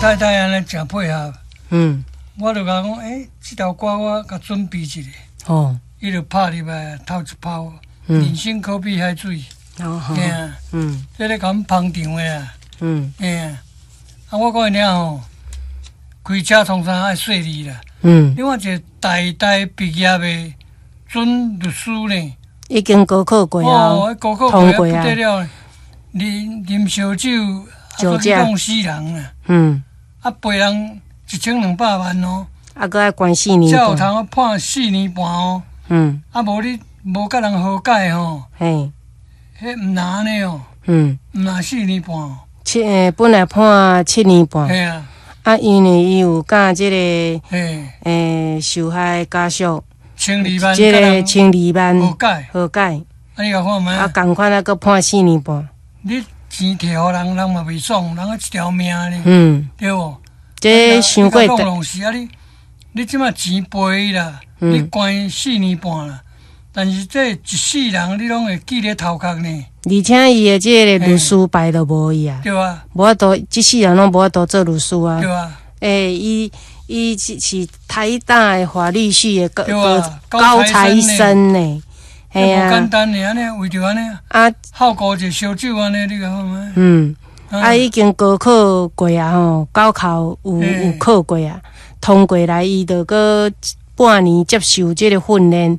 太太按呢誠配合。我就共講，欸，這條歌我共準備一下。伊就拍入來頭一泡，人生可比海水。嘿啊。這咧共阮捧場的啊。嘿啊。啊，我講伊爾吼，開車創啥愛細膩啦。你看一個台大畢業的準律師呢？已經高考過啊。哦，高考過不得了，啉啉燒酒，啊，閣弄死人啊！啊，賠人1200萬哦。啊，閣愛關四年半。才有通判四年半哦。啊，無你無佮人和解吼。彼毋若按呢哦。毋若四年半。本來判7年半。嘿啊。啊，因為伊有佮這個，受害家屬，千二萬，這個千二萬和解，和解。啊，你共看覓？啊，仝款啊，閣判四年半。你錢提予人，人嘛袂爽，人啊一條命呢。對無？這傷過。弄弄是啊，你這馬錢賠伊啦，你關四年半啦，但是這一世人你攏會記咧頭殼呢。而且伊的這個律師牌都無去啊。對啊。無法度，這世人攏無法度做律師啊。對啊。欸，伊是台大的法律系的高材生呢。嘿啊。無簡單的，按呢為著按呢。啊。好顧一個燒酒按呢，你共看覓？啊，已經高考過啊吼，高考有考過啊，通過來，伊就閣半年接受這個訓練，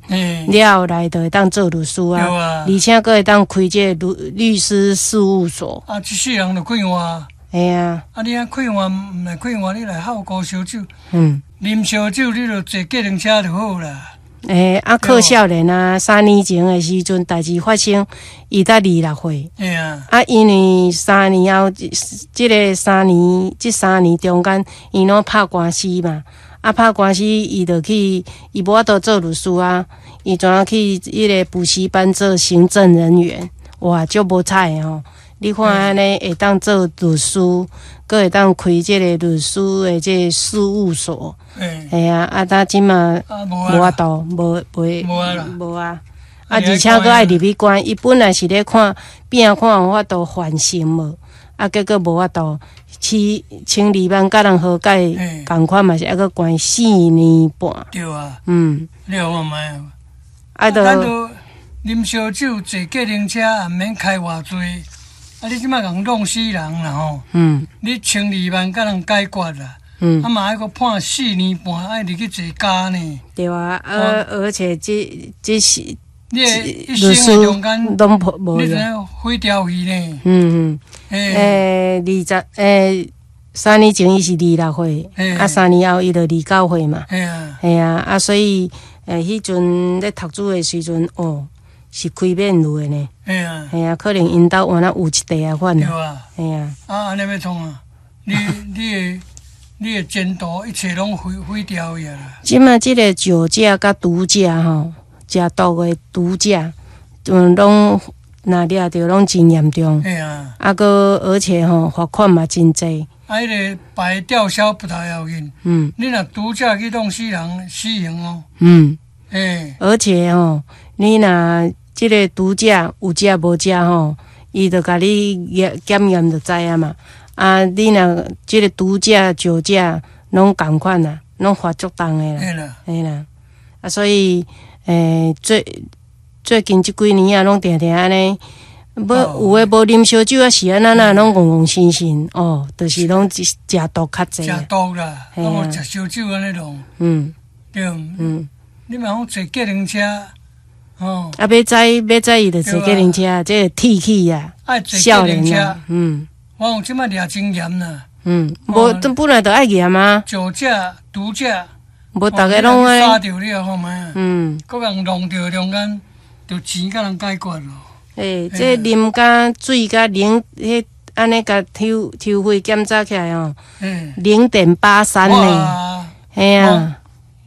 了後來就會當做律師啊，而且閣會當開這個律師事務所。啊，這世人就快活。嘿啊。啊，你按快活，毋來快活，你來好顧燒酒。啉燒酒，你就坐計程車就好啦。欸，啊，柯少年啊，3年前的時陣，代誌發生，伊才26歲。啊，因為三年後，這個三年，這三年中間，伊攏拍官司嘛。啊，拍官司，伊就去，伊無法度做律師啊，伊轉去彼個補習班做行政人員。哇，足無彩的吼！你看按呢會當做律師，閣會當開這個律師的這個事務所。嘿啊，啊，他這馬無法度，無袂無啊！啊，而且閣愛入去關，伊本來是咧看變看有法度緩刑無，啊，結果無法度，千二萬佮人和解，仝款嘛是猶閣關四年半。對啊。你有看覓啊？啊，就咱都啉燒酒、坐計程車，也毋免開偌濟。啊，你這馬共弄死人啦吼！你千二萬佮人解決啦。啊嘛愛閣判四年半，愛入去坐監呢。對啊，而且這是你的一生的中間，攏無你知影毀掉去呢？欸，3年前伊是26歲，啊，三年後伊就29歲嘛。嘿啊，啊，所以彼陣咧讀書的時陣，哦，是開免稅的呢。嘿啊，可能𪜶兜原來有一塊仔款。對啊。嘿啊。啊，按呢欲創啊？你的前途一切攏毀掉去啊！這馬這個酒駕佮毒駕吼，食毒的毒駕，攏若掠著攏真嚴重。嘿啊。啊，閣而且吼，罰款嘛真濟。啊，彼個牌吊銷不太要緊。你若毒駕去弄死人，死刑哦。欸。而且吼，你若這個毒駕有食無食吼，伊就共你驗檢驗就知影嘛。啊，你若這個毒駕、酒駕攏仝款啊，攏罰足重的啦。嘿啦。嘿啦。啊，所以，最近這幾年啊，攏定定按呢，無有的無啉燒酒啊，是按怎攏戇戇神神哦，就是攏食毒較濟。食毒啦，啊無食燒酒按呢弄。對。你嘛講坐計程車，哦。啊，欲知欲知伊就坐計程車，這個鐵齒啊，愛坐計程車。我講這馬掠真嚴啦。無，這本來就愛嚴啊。酒駕、毒駕，無逐家攏按呢。殺著你啊，看覓啊？閣共弄著中間，就錢共人解決咯。欸，這啉甲水佮零，彼按呢共抽血檢查起來哦，0.83呢。嘿啊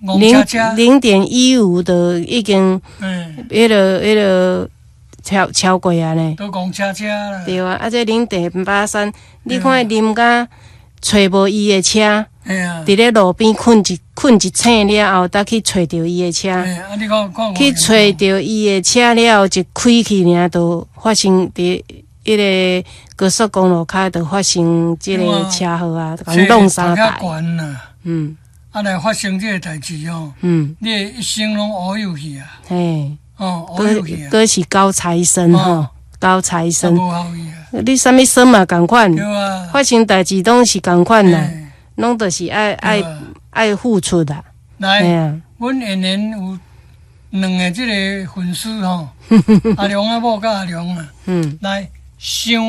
，0.15就已經，彼個超過啊呢。都戇車車啦。對啊，啊這0.83，你看伊啉甲揣無伊的車，佇咧路邊睏一醒了後，才去揣著伊的車。去揣著伊的車了後，一開去爾，就發生佇彼彼个高速公路跤就發生這個車禍啊，共弄三台。啊，來發生這個代誌哦，你的一生攏烏有去啊。嘿，哦，烏有去啊。閣是高材生吼，高材生。你啥物生嘛仝款，發生代誌攏是仝款啦，攏就是愛愛愛付出啦。來，阮演員有兩个這个粉絲吼，阿良仔某佮阿良啊，來想。